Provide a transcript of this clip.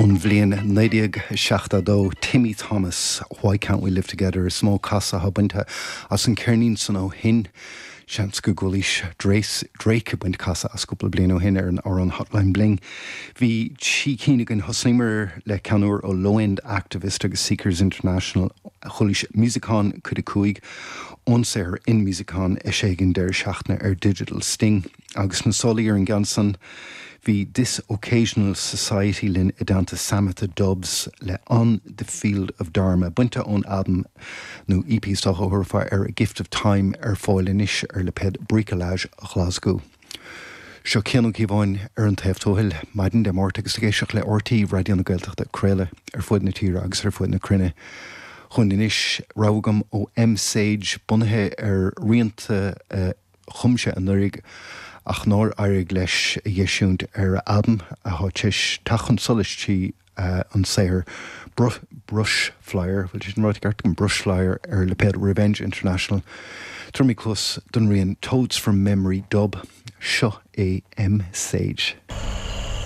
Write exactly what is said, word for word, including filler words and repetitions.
Ón bhliain naoi déag seachtó dó, Timmy Thomas, Why Can't We Live Together, is mó casadh atá bainte as an ceirnín san ó shin. Seans go gcualaís Drake ag baint casadh as cúpla bliain ó shin ar an amhrán Hotline Bling. Bhí trí cinn againn. Thosnaíomar le ceann úr ó Low End Activist agus Seekers International. Chualaís Musicon cuid a cúig ón saothar In Musicon eisithe ag an deireadh seachtaine ar Digital Sting. Agus na solaí ar an gceann san bhí This Occasional Society linn i dteannta Samatha Dubs le On the Field of Dharma, bainte ón albam nó E P is dócha a thabharfá air A Gift of Time ar fáil anois ar lipéad Bricolage Ghlaschú. Seo Cian Ó Cíobháin ar an taobh tuathail, maidin Dé Máirt agus ag éisteacht le R T É Raidió na Gaeltachta, craoladh ar fud na tíre agus ar fud na cruinne. Chun anois rogha agam ó M Sage bunaithe ar rianta a chum sé anuraidh ach nár éirigh leis a dh'eisiúint ar albam atá tar éis teacht chun solais trí an saothar Brush Flyer, bhfuil sé sin ráite ceart agam, Brush Flyer ar lipéad Revenge International. Tabharfaidh mé cluas don rian Toads from Memory Dub. Seo é M Sage.